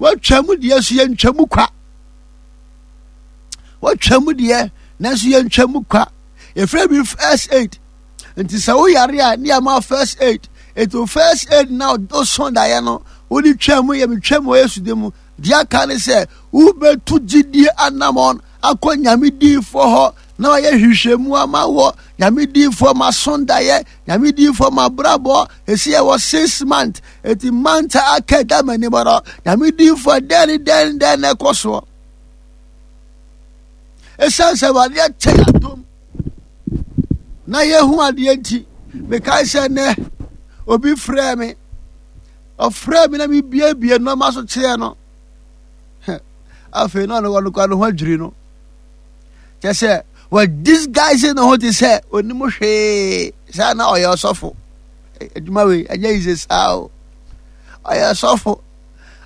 Watwa mu deɛ so yɛntwa mu kwa. Watwa mu deɛ nanso yɛntwa mu kwa. Yɛfrɛ bi first aid. Nti sɛ woyare a ne yɛma first aid. Nti first aid na wosõ daeɛ no wode twa mu yɛ metwa mu wɔ Yesu din mu. Deɛ aka ne sɛ wobɛtu gyidie anamɔn akɔ Nyame diifoɔ hɔ na wayɛ nhwehwɛmu ama wɔ Nyame diifoɔ ma so daeɛ, Nyame diifoɔ ma brabɔ. Ɛsi yɛwɔ 6 month, eti month a aka da m'anim no, Nyame diifoɔ, dɛn ne dɛn ne dɛn na ɛkɔ soɔ? Ɛsiane sɛ Awurade akyɛ yɛ adom na yɛhu adeɛ nti, mekae sɛ nnɛ obi frɛɛ me, ɔfrɛɛ me na mebiebie nneɛma so kyerɛɛ no. Afei na ɔno ɔno kora ne ho adwiri no, kyɛ sɛ wɔ disguise ne ho te sɛ onim hwee saa na ɔyɛ ɔsɔfo. Adwuma wei ɛnyɛ yize saa o. Ɔyɛ ɔsɔfo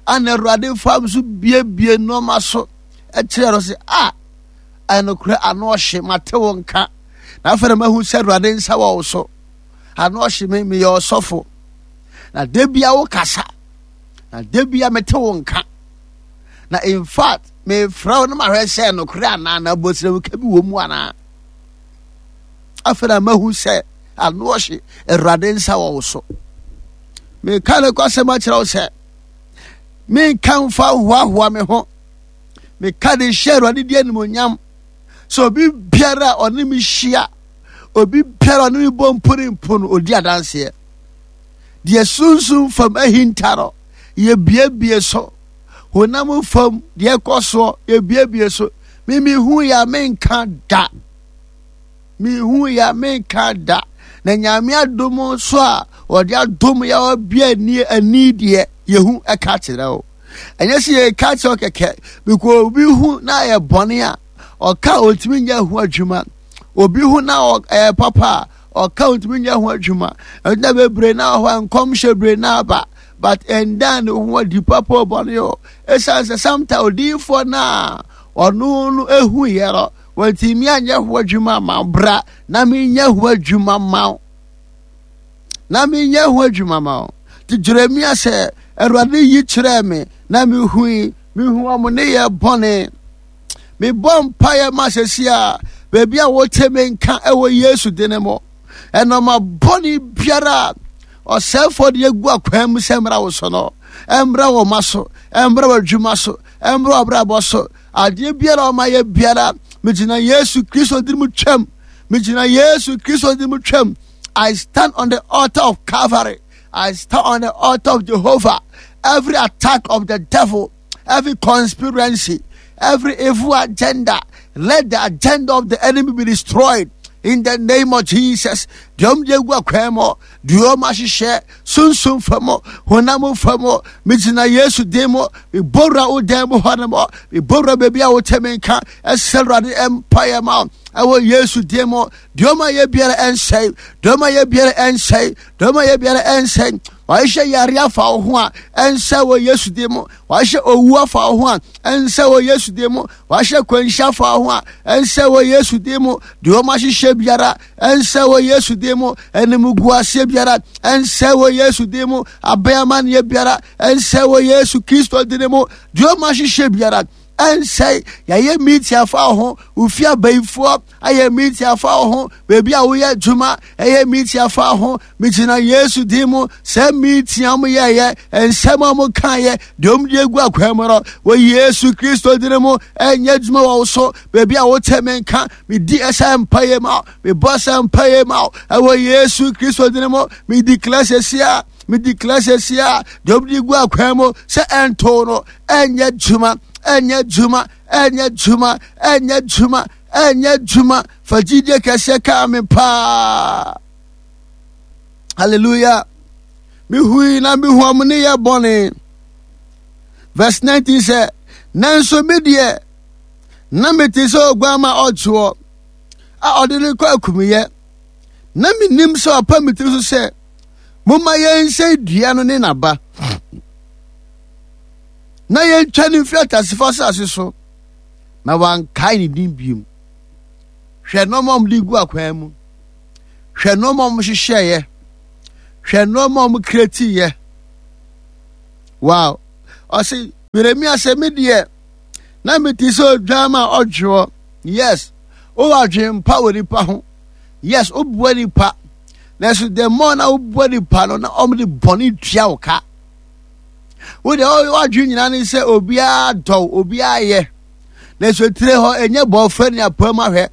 ana Awurade fam so biebie nneɛma so ɛkyerɛ no sɛ a ɛnokorɛ ano ɔhye mate wo nka na afei na mahu sɛ Awurade nsa wɔ wo so. Ano ɔhye me, meyɛ ɔsɔfo na da bia wo kasa na da bia mete wo nka na in fact mefrɛ wo na mahwɛ sɛ nokorɛ anaa na abɔsirɛmuka bi wɔ mu anaa. Afei na mahu sɛ ano ɔhye Awurade nsa wɔ wo so. Meka ne kɔsɛm akyerɛ wo sɛ menka mfa hoahoa me ho, meka de hyɛ Awurade di animonyam sɛ obi biara a ɔne me hyia, obi biara a ɔne me bɔ mpo ne mpo no, ɔdi adanseɛ. Deɛ sunsum fam ahinta no yɛbiebie so, honam fam deɛ ɛkɔ soɔ yɛbiebie so. Memehu yɛ a menka da, mehu yɛ a menka da, na Nyame adom so a ɔde adom yɛ ɔbea ani ani deɛ yɛhu ɛka kyerɛ wo. Ɛnyɛ sɛ yɛka kyerɛ wo kɛkɛ, because obi hu na ayɛ bɔne a ɔka ɔntumi nyɛ ho adwuma. Obi hu na ɛyɛ papa a ɔka ɔntumi nyɛ ho adwuma. Ɛnna bebree na wɔ hɔ a nkɔmhyɛ bebree na aba, but ɛnda ne ho adi papa ɔbɔne o. Ɛsiane sɛ sometimes odiyifoɔ no a ɔno no ehu yɛ no wɔntumi anyɛ ho adwuma ma bra na menyɛ ho adwuma ma wo, na menyɛ ho adwuma ma wo. Nti Jeremia sɛ Awurade yi kyerɛɛ me na mehui, mehu ɔmo ne yɛ bɔne. Mebɔ mpaeɛ ma sɛsi a baabi a wote me nka ɛwɔ Yesu dene mu, ɛnɔma bɔne biara ɔsɛefoɔ de agu akwan mu sɛ mmra wo so no, ɛmmra wɔ ma so, ɛmmra wɔ adwuma so, ɛmmra wɔ abrabɔ so. Adeɛ biara ɔma yɛ biara, megyina Yesu Kristo din mu twam, megyina Yesu Kristo din mu twam. I stand on the altar of Calvary. I stand on the altar of Jehovah. Every attack of the devil, every conspiracy, every evil agenda, let the agenda of the enemy be destroyed in the name of Jesus. Deɛ ɔmo de egu akwan mu, deɛ ɔmo ahyehyɛ sunsun fam, honam fam, megyina Yesu din mu, mebɔwura wo dan mu hɔ nom, mebɔwura baabi a wote me nka, ɛsɛ Awurade mpaeɛ ma ɛwɔ Yesu din mu. Deɛ ɔmo ayɛ biara ɛnsɛe, deɛ ɔmo ayɛ biara ɛnsɛe, deɛ ɔmo ayɛ biara ɛnsɛe. Wahyehyɛ yare afa wo ho a, ɛnsɛ wɔ Yesu din mu. Wahyehyɛ owu afa wo ho a, ɛnsɛ wɔ Yesu din mu. Wahyehyɛ kwanhyia afa wo ho a, ɛnsɛ wɔ Yesu din mu. Deɛ ɔmo ahyehyɛ biara ɛnsɛ wɔ Yesu din mu. Animguaseɛ biara ɛnsɛ wɔ Yesu din mu. Abɛn biara ɛnsɛ wɔ Yesu Kristo din mu. Deɛ ɔmo ahyehyɛ biara ɛnsɛe. Yɛayɛ meeting afa wo ho, wofi abayifoɔ ayɛ meeting afa wo ho, baabi a woyɛ adwuma ɛyɛ meeting afa wo ho. Megyina Yesu din mu sɛ meeting a moyɛɛyɛ, nsɛm a mokaeɛ, deɛ ɔmde agu akwan mu no, wɔ Yesu Kristo din mu ɛnyɛ adwuma wɔ wo so. Baabi a wote me nka, medi ɛsɛ mpaeɛ ma wo, mebɔ sɛ mpaeɛ ma wo ɛwɔ Yesu Kristo din mu. Medi declare sɛsi a, medi declare sɛsi a, deɛ ɔmde gu akwan mu sɛ ɛnto no, ɛnyɛ adwuma, ɛnyɛ adwuma, ɛnyɛ adwuma, ɛnyɛ adwuma, ɛnyɛ adwuma. Fa gyidie kɛseɛ kaa me paa. Hallelujah. Mehui na mehu ɔmo ne yɛ bɔne. Verse 19 sɛ, nanso me deɛ na mete sɛ oguamma ɔkyeɔ a ɔde no kɔ akumyɛ, na menim sɛ ɔpa me tiri so sɛ momma yɛnsɛe dua no ne n'aba na yɛntwa no mfiri atasefo asase so, na wankae ne din biom. Hwɛ nneɛma a wɔde gu akwan mu, hwɛ nneɛma a wɔhyehyɛeɛ, hwɛ nneɛma a wɔkretiiɛ. Wow, ɔse Yeremia sɛ me deɛ na mete sɛ odwan ma ɔdwoɔ. Yes, wowɔ adwene pa wɔ nipa ho. Yes, wobua nipa. Nanso the more na wobua nipa no na wɔn de bɔne tua wo ka. Wo deɛ w'adwene nyinaa ne sɛ obiara dɔw, obiara yɛ. Nanso etire hɔ ɛnyɛ bɔɔfrɛ ne apam ahwɛ.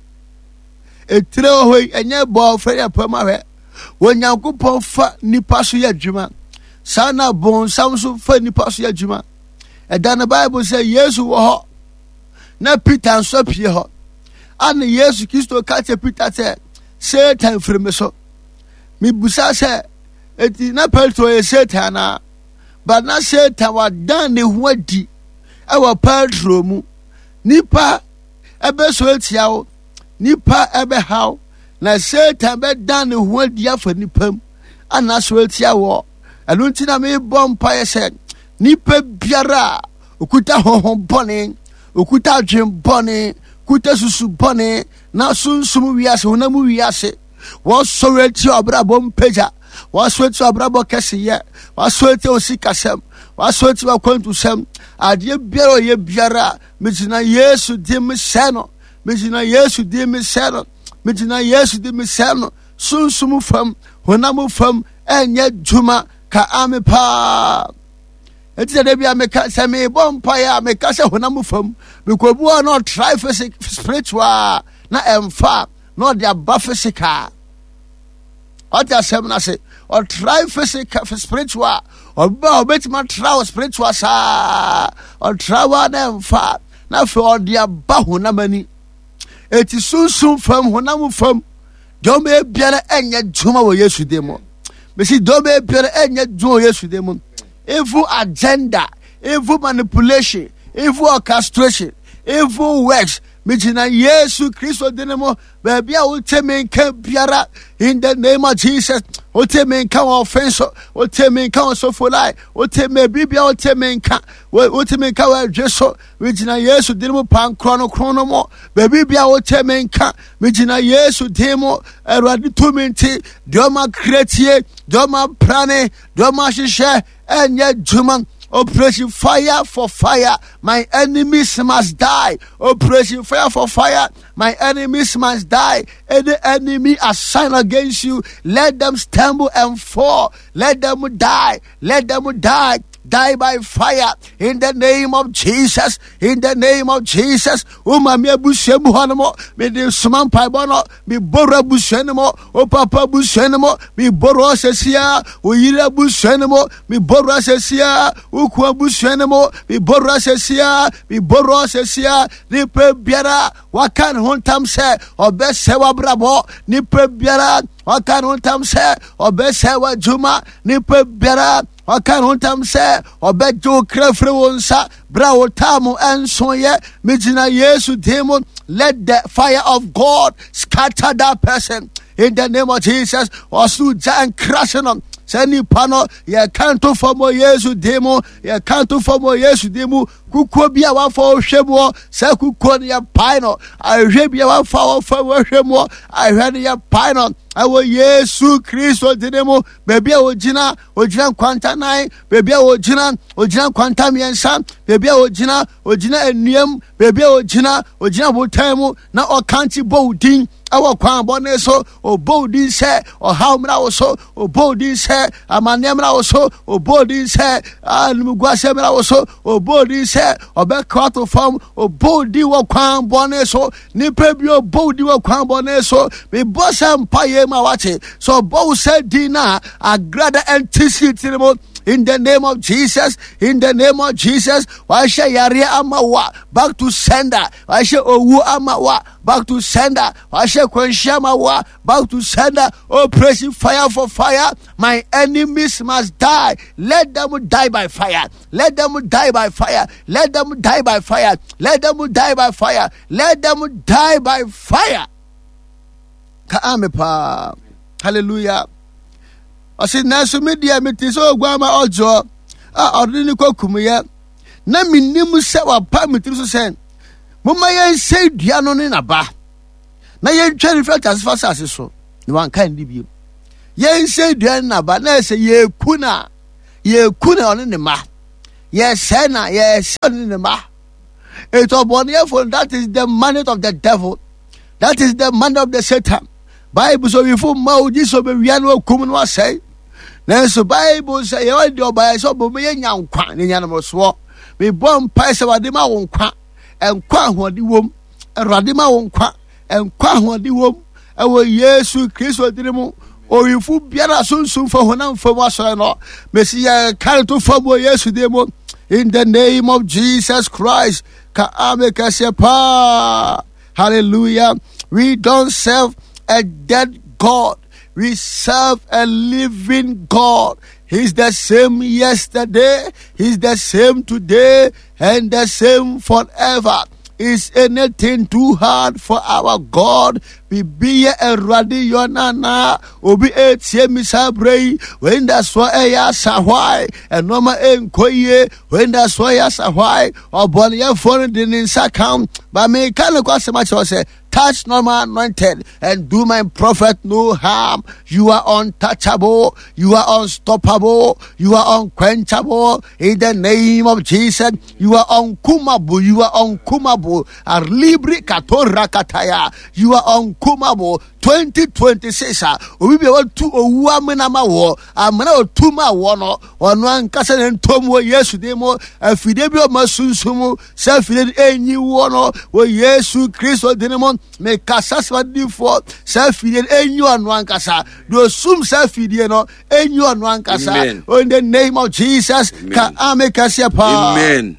Etire hɔ yi ɛnyɛ bɔɔfrɛ ne apam ahwɛ. Onyankopɔn fa nipa so yɛ adwuma. Saa na bonsam nso fa nipa so yɛ adwuma. Ɛda no Bible sɛ Yesu wɔ hɔ na Peter nso apue hɔ. Ana Yesu Kristo ka kyerɛ Peter sɛ Satan firi me so. Mebusa sɛ eti na Petro yɛ Satan anaa? But na Satan wadan ne ho adi ɛwɔ Petro mu. Nipa ɛbɛsɔ atia wo, nipa ɛbɛhaw, na Satan bɛdan ne ho adi afa nipa mu ana asɔre atia wɔ. Ɛno nti na mebɔ mpaeɛ sɛ nipa biara a okuta honhom bɔne, okuta adwen bɔne, kuta susu bɔne, na sunsum wiase, honam wiase, wɔsɔre atia ɔbrabɔ mpagya, wɔsɔre atia ɔbrabɔ kɛseyɛ, wɔsɔre atia osikasɛm, wɔsɔre atia akwantusɛm, adeɛ biara ɔyɛ biara, megyina Yesu din mu sɛ no, megyina Yesu din mu sɛ no, megyina Yesu din mu sɛ no, sunsum fam, honam fam, ɛnyɛ dwuma ka ame paa. Eti sɛ dabi a meka sɛ mebɔ mpaeɛ a meka sɛ honam fam, mekɔbu a na ɔtrae physic spiritual na ɛmfa na ɔde aba physical. Ɔte asɛm no ase ɔtrae physical spiritual ɔba a ɔbɛtumi atra wɔ spiritual saa ɔtra wa na ɛmfa na afei ɔde aba honam ani. Eti sunsum fam honam fam deɛ ɔmo biara ɛnyɛ dwuma wɔ Yesu din mu. Mesi deɛ ɔmo biara ɛnyɛ dwuma wɔ Yesu din mu. Evil agenda, evil manipulation, evil orchestration, evil works. Megyina Yesu Kristo din mu baabi a wote me nka biara in the name of Jesus. Wote me nka wɔ ɔfen so, wote me nka wɔ sofolai, wote me bibia wote me nka, wote me nka wɔ adwe so. Megyina Yesu din mu pankorɔ no kron no mu. Baabi bia wote me nka, megyina Yesu din mu. Awurade tumi nti, deɛ ɔma kretie, deɛ ɔma prane, deɛ ɔma hyehyɛ ɛnyɛ adwuma. Operation fire for fire, my enemies must die. Operation fire for fire, my enemies must die. Any enemy assigned against you, let them stumble and fall. Let them die. Let them die. Die by fire in the name of Jesus. In the name of Jesus. O mami abusua mu hɔ no mo, me de soma mpaebɔ no, me bɔrɔ abusua no mo, o papa abusua no mo, me bɔrɔ asɛsia, o yere abusua no mo, me bɔrɔ asɛsia, o kun abusua no mo, me bɔrɔ asɛsia, me bɔrɔ asɛsia, nipa biara waka ne ho ntam sɛ ɔbɛsɛ w'abrabɔ, nipa biara waka ne ho ntam sɛ ɔbɛsɛ w'adwuma, nipa biara waka ne ho ntam sɛ ɔbɛgye wo kra firi wo nsa berɛ a wo taa mu ɛnsoeɛ. Megyina Yesu din mu, let the fire of God scatter that person in the name of Jesus. Ɔsoro gya nkrase no sɛ nipa no yɛka nto fam wɔ Yesu din mu, yɛka nto fam wɔ Yesu din mu. Kukuo bi a wafa ɔhwɛ mu hɔ, sɛ kukuo no yɛpae no. Ahwɛ bi a wafa ɔfa ɔhwɛ mu hɔ, ahwɛ no yɛpae no ɛwɔ Yesu Kristo din mu. Baabi a ogyina, ogyina nkwanta nan. Baabi a ogyina, ogyina nkwanta mmiɛnsa. Baabi a ogyina, ogyina nnuam. Baabi a ogyina, ogyina botan mu na ɔkankye bɔ wo din ɛwɔ kwan bɔne so. Ɔbɔ wo din sɛ ɔhaw mmra wo so, ɔbɔ wo din sɛ amanneɛ mmra wo so, ɔbɔ wo din sɛ animguaseɛ mmra wo so, ɔbɔ wo din sɛ ɔbɛka ato fam, ɔbɔ wo din wɔ kwan bɔne so. Nipa bi ɔbɔ wo din wɔ kwan bɔne so. Mebɔ sɛ mpaeɛ mu a wate sɛ ɔbɔ wo sɛ din no a agrada ɛnte si tiri mu. In the name of Jesus, in the name of Jesus, wahyɛ yareɛ ama wo a, back to sender. Wahyɛ owu ama wo a, back to sender. Wahyɛ kwanhyia ama wo a, back to sender. Operation fire for fire, my enemies must die. Let them die by fire. Let them die by fire. Let them die by fire. Let them die by fire. Let them die by fire. Ka ame paa. Hallelujah. Ɔse nanso me deɛ mete sɛ oguama ɔdwoɔ a ɔde ne kɔ kumyɛ na menim sɛ wapa me tiri so sɛ momma yɛnsɛe dua no ne n'aba na yɛntwa ne firi asase fa asase so na wanka ne bio. Yɛnsɛe dua ne n'aba na ɛsɛ yɛku na yɛku na ɔne ne mma. Yɛsɛe na yɛsɛe ne ne mma. Eti ɔbɔneɛfo that is the mandate of the devil. That is the mandate of the Satan. Bible sɛ owifo mma ogye sɛ ɔbɛwia no akum no asɛe. Nanso Bible sɛ yɛwɔ deɛ ɔbaeɛ sɛ ɔbɛma yɛnya nkwa ne nyanamsoɔ. Mebɔ mpae sɛ wɔde ma wo nkwa, nkwa ahoɔden wom. Awurade ma wo nkwa, nkwa ahoɔden wom. Ɛwɔ Yesu Kristo din mu. Owifo biara sunsum fa honam fam asɔre no. Mesi yɛ kare to fam wɔ Yesu din mu. In the name of Jesus Christ. Ka ame kɛseɛ paa. Hallelujah. We don't serve a dead God. We serve a living God. He's the same yesterday, He's the same today, and the same forever. Is anything too hard for our God? Biribi yɛ Awurade yɔ nana. Obi etie mi saa berɛ yi. Wei nda soɔ ɛyɛ asa hwae. Ɛnɔɔma ɛnkɔ yie. Wei nda soɔ ɛyɛ asa hwae. Ɔbɔneyɛfoɔ no de ne nsa ka. Ba meka ne kɔ asɛm akyerɛ sɛ touch not my anointed and do my prophet no harm. You are untouchable. You are unstoppable. You are unquenchable. In the name of Jesus, you are unkumable. You are unkumable. Arlibri katora kataya. You are unkumable. 2026 a obi bi a watu owu amena ma wɔ amena otu ma wɔ no ɔno ankasa ne ntom wɔ Yesu din mu afidie bi ɔma sunsum sɛ afidie no enyi wɔ no wɔ Yesu Kristo din mu mekasa sɛ adidifoɔ sɛ afidie no enyi ɔno ankasa deɛ osum sɛ afidie no enyi ɔno ankasa in the name of Jesus ka ame kɛseɛ paa. Amen.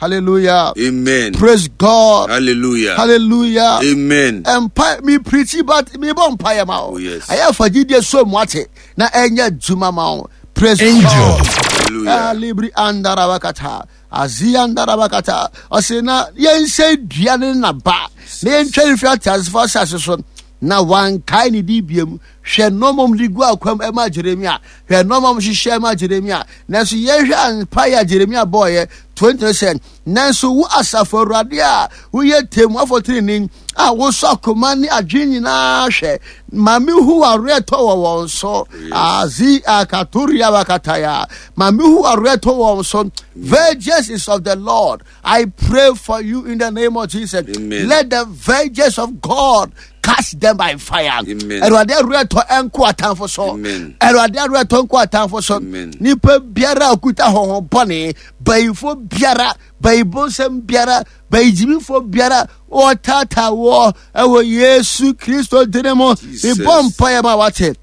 Hallelujah. Amen. Praise God. Hallelujah. Hallelujah. Amen. Mpa mi preach but mi bɔ mpa yɛ ma o. Oh, yes. Ayɛ afa gyidie so mu ate na ɛnyɛ adwuma ma o. Praise Angel. God. Hallelujah. Alibri andarabakata. Azi andarabakata. Ɔsɛ na yɛnsɛ dua ne naba na yɛntwa ne firi ateasefo asase so na wankae ne di biem. Hwɛ nneɛma mu de gu akwam ɛma Jeremia. Hwɛ nneɛma mu hyehyɛ ɛma Jeremia. Nanso yɛhwɛ mpaeɛ a Jeremia bɔɔyɛ 20 sɛ, nanso wo asafo awurade a woyɛ temmuafo trenee a wosɔ akoma ne adwene nyinaa hwɛ, ma mehu w'awerɛtɔ wɔ wɔn so. Azi akatoria wakataya. Ma mehu w'awerɛtɔ wɔ wɔn so. Vengeance is of the Lord. I pray for you in the name of Jesus. Amen. Let the vengeance of God cast them by fire. Amen. Awurade awerɛtɔ ɛnko atamfo so. Amen. Awurade awerɛtɔ nko atamfo so. Amen. Nipa biara a okuta honhom bɔne, bayifo biara, bayibonsɛm biara, bayigyimifo biara, wɔtaataa wɔ ɛwɔ Yesu Kristo din mu. Jesus. Mebɔ mpaeɛ ma wate.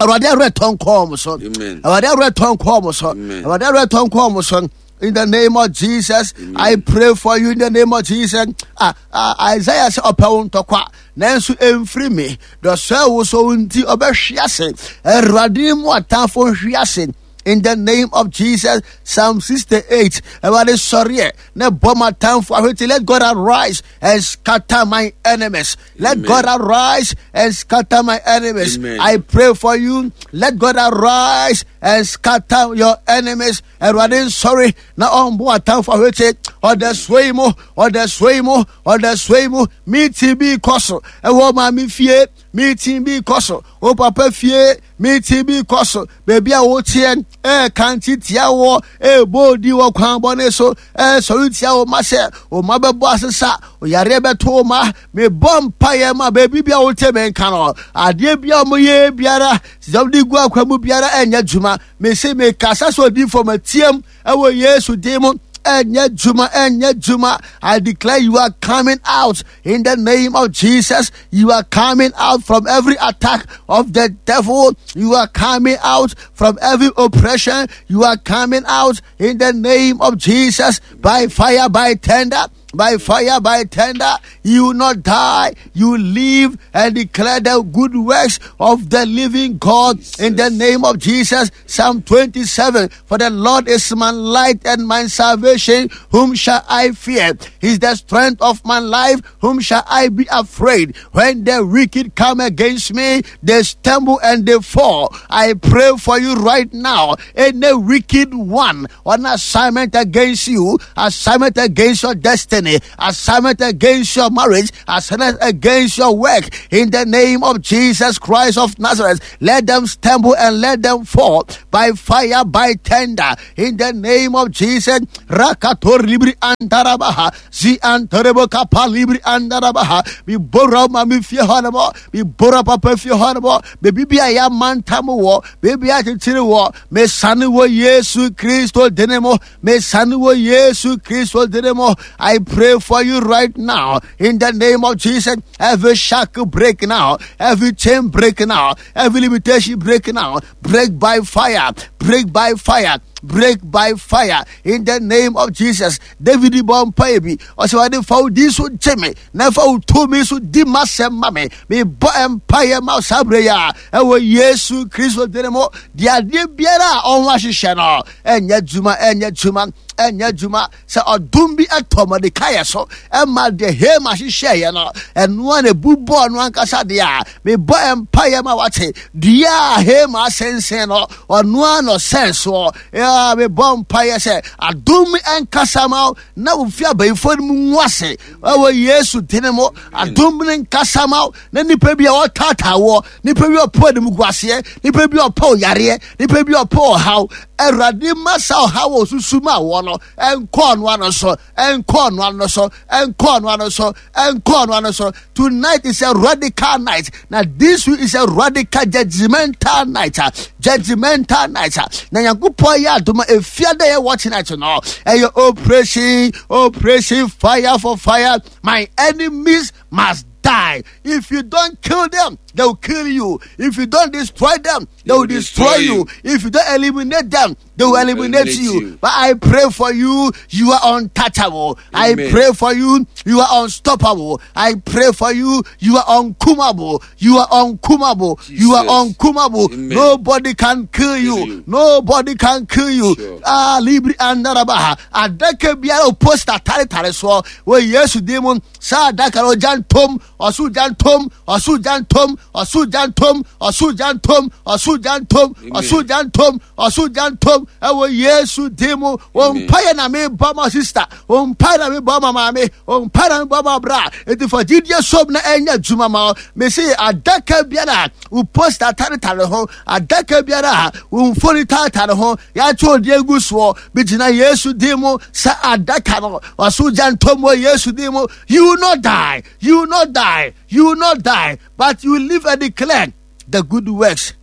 Awurade awerɛtɔ nkɔɔ mo so. Amen. Awurade awerɛtɔ nkɔɔ mo so. Amen. Awurade awerɛtɔ nkɔɔ mo so. In the name of Jesus, I pray for you in the name of Jesus. Ah, ah, Isaiah sɛ ɔpɛ wo ntɔkwa, nanso ɛmfiri me. Dɔsɔɛ wo so nti ɔbɛhwe ase. Awurade mu atamfo nhwe ase. In the name of Jesus, Psalm 68. Awurade sɔreɛ na bɔ m'atamfo ahwete. Let God arise and scatter my enemies. Let Amen. God arise and scatter my enemies. Amen. I pray for you. Let God arise and scatter your enemies. Awurade nsɔre na ɔmbo atamfo ahwete. Ɔda soe mu, ɔda soe mu, ɔda soe mu. Meeting bi kɔ so ɛwɔ maame fie. Meeting bi kɔ so. O papa fie. Meeting bi kɔ so. Baabi a woteɛ ɛɛka tia wɔ ɛɛbɔ odi wɔ kwan bɔne so ɛɛsɔre tia wo ma sɛ wo ma bɛbɔ asesa yareɛ bɛto wo ma mebɔ mpaeɛ ma baabi bi a wote me nka no adeɛ bi a wɔyɛ biara sɛ wɔde gu akwa mu biara ɛnyɛ adwuma mese mekasa sɛ odiyifoɔ matiam ɛwɔ Yesu din mu ɛnyɛ adwuma ɛnyɛ adwuma I declare you are coming out in the name of Jesus. You are coming out from every attack of the devil. You are coming out from every oppression. You are coming out in the name of Jesus by fire, by tender. By fire, by tender, you will not die. You live and declare the good works of the living God in the name of Jesus. Psalm 27 For the Lord is my light and my salvation. Whom shall I fear? He's the strength of my life. Whom shall I be afraid? When the wicked come against me, they stumble and they fall. I pray for you right now. Any wicked one on assignment against you, assignment against your destiny. destiny, assignment against your marriage, assignment against your work. In the name of Jesus Christ of Nazareth, let them stumble and let them fall by fire, by tender. In the name of Jesus, Rakator Libri Antarabaha, Zi Antarebo Kapa Libri Andarabaha, Mi Bora Mami Fie Honamo, Mi Bora Papa Fie Honamo, Baby Bia Mantamu War, Baby Atitiri War, Me Sani Wo Yesu Christo Dinemo, Me Sani Wo Yesu Christo Dinemo. I pray for you right now in the name of Jesus. Every shackle break now, every chain break now, every limitation break now. Break by fire, break by fire, break by fire in the name of Jesus. David bɔ mpaeɛ bi ɔsɛ wɔde fa wo din so gye me na fa wo tumi so di m'asɛm ma me. Mebɔ mpaeɛ ma saa berɛ yi a ɛwɔ Yesu Kristo din mu. Deɛ adeɛ biara a ɔho ahyehyɛ no ɛnyɛ adwuma, ɛnyɛ adwuma, ɛnyɛ adwuma. Sɛ ɔdom bi ɛtɔ Mordekai so ɛma deɛ Haman hyehyɛeɛ no ɛnoa na ebu bɔɔ no ankasa deɛ a, mebɔ mpaeɛ ma wate dua a Haman asensɛn no ɔnoa na ɔsɛn soɔ. Mebɔ mpaeɛ sɛ adom ɛnkasa ma wo na wofi abayifoɔ no mu ngu ase ɛwɔ Yesu din mu. Adom no nkasa ma wo na nipa bi a ɔtaataa woɔ, nipa bi a ɔpɔ anim gu aseɛ, nipa bi a ɔpɔ yareɛ, nipa bi a ɔpɔ ɔhaw, Awurade ma saa ɔhaw a osusu ma wɔ no ɛnkɔ ɔno ano so, ɛnkɔ ɔno ano so, ɛnkɔ ɔno ano so, ɛnkɔ ɔno ano so. Tonight is a radical night. Now this week is a radical judgmental night. Judgmental night. Na Nyankopɔn yɛ adom a efia dɛ yɛ watch night no. Ɛyɛ operation, operation fire for fire. My enemies must die. If you don't kill them, they will kill you. If you don't destroy them, they will destroy you. If you don't eliminate them, they will eliminate you. But I pray for you, you are untouchable. Amen. I pray for you, you are unstoppable. I pray for you, you are unkumable. You are unkumable. Jesus. You are unkumable. Amen. Nobody can kill you. Nobody can kill you. Sure. Ah, Libri andarabaha. Adaka biara poster tare tare so. Wo Yesu demon. Saa adaka no ogya ntom, ɔsoro gya ntom, ɔsoro gya ntom, ɔsoro gya ntom, ɔsoro gya ntom, ɔsoro gya ntom, ɔsoro gya ntom, ɔsoro gya ntom, ɛwɔ Yesu din mu. Wɔn mpaeɛ na mebɔ ma sista, wɔn mpaeɛ na mebɔ ma maame, wɔn mpaeɛ na mebɔ ma bra. Eti fa gyidie som na ɛnyɛ adwuma ma wo. Mesi adaka biara wo posta taretare ho, adaka biara wo mfoni taretare ho, yɛato odi egu soɔ. Megyina Yesu din mu sɛ adaka no ɔso gya ntom wɔ Yesu din mu. You will not die, you will not die, you will not die, but you will live and declare the good works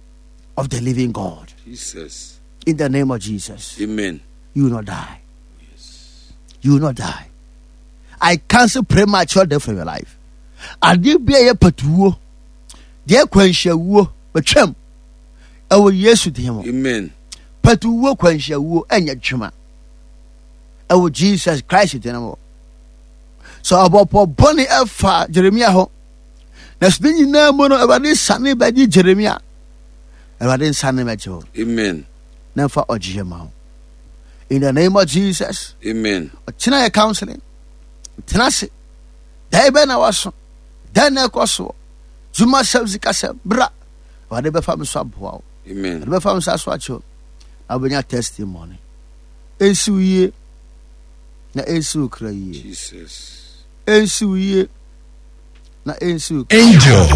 of the living God. Jesus. In the name of Jesus. Amen. You will not die. Yes. You will not die. I cancel premature death from your life. Adeɛ bi a ɛyɛ patuwuo, deɛ kwanhyia wuo, bɛtwam ɛwɔ Yesu din mu. Amen. Patuwuo kwanhyia wuo ɛnyɛ dwuma ɛwɔ Jesus Christ din mu. So ɔbɔpɔ bɔne ɛfa Jeremia ho, na so ne nyinaa mu no Awurade sane bɛgye Jeremia. Awurade nsane bɛgye wo. Amen. Na mfa ɔgyeɛ ma wo. In the name of Jesus. Amen. Ɔkyena yɛ counseling. Tena ase. Dɛn bɛn na waso? Dɛn na ɛkɔ soɔ? Dwuma sɛm sikasɛm bra. Awurade bɛfa me so aboa wo. Amen. Awurade bɛfa me so aso akyɛ wo. Na wobɛnya testimony. Ɛnsi wo yie. Na ɛnsi wo kra yie. Jesus. Ɛnsi wo yie. Na ɛnsi wo kra. Angel.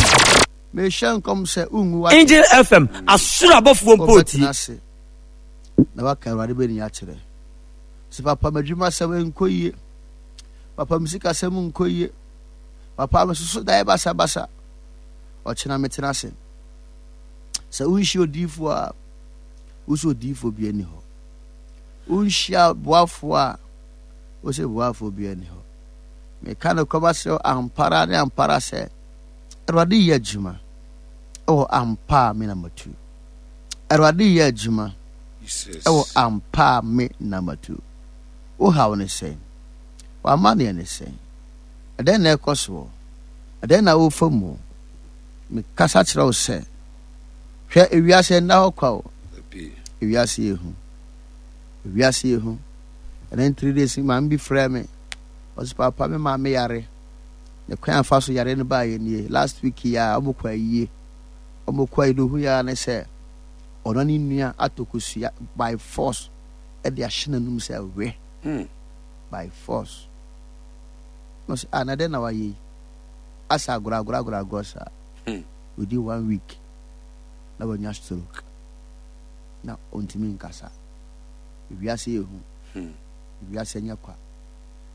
Mehyɛ nkɔm sɛ wongu wa. Angel FM asoro abɔfoɔ mpo tie. Wobɛtena ase. Na waka Awurade bɛni akyerɛ. Sɛ papa m'adwuma sɛm nkɔ yie. Papa me sikasɛm nkɔ yie. Papa mesoso daeɛ basabasa. Ɔkyena metena ase. Sɛ wonhyia odiyifoɔ a, wosɛ odiyifoɔ bi ani hɔ. Wonhyia boafoɔ a, wosɛ boafoɔ bi ani hɔ. Meka no kɔma sɛ ampara ne ampara sɛ Awurade yɛ adwuma ɛwɔ ampa a me na matu. Awurade yɛ adwuma ɛwɔ ampa a me na matu. Wo haw ne sɛn? W'amanneɛ ne sɛn? Ɛdɛn na ɛkɔ soɔ? Ɛdɛn na wofa mu? Mekasa kyerɛ wo sɛ, hwɛ ewiase nna hɔ kwa o. Ewiase yɛ hu. Ewiase yɛ hu. Ɛnɛ 3 days maame bi frɛ me. Ɔsɛ papa me maame yare. Ne kwan afa so yare no baa yɛ nie. Last week yi a ɔmo kɔ ayie. Ɔmo kɔ ayie no ohu ya ne sɛ ɔno ne nua atɔ kosua by force ɛde ahyɛ n'anum sɛ we. By force. Na ɔsɛ, ah, na dɛn na wayɛ yi? Asa agorɔ agorɔ agorɔ agorɔ saa. Within one week, na wanya stroke. Na ɔntumi nkasa. Wiase yɛ hu. Wiase nyɛ kwa.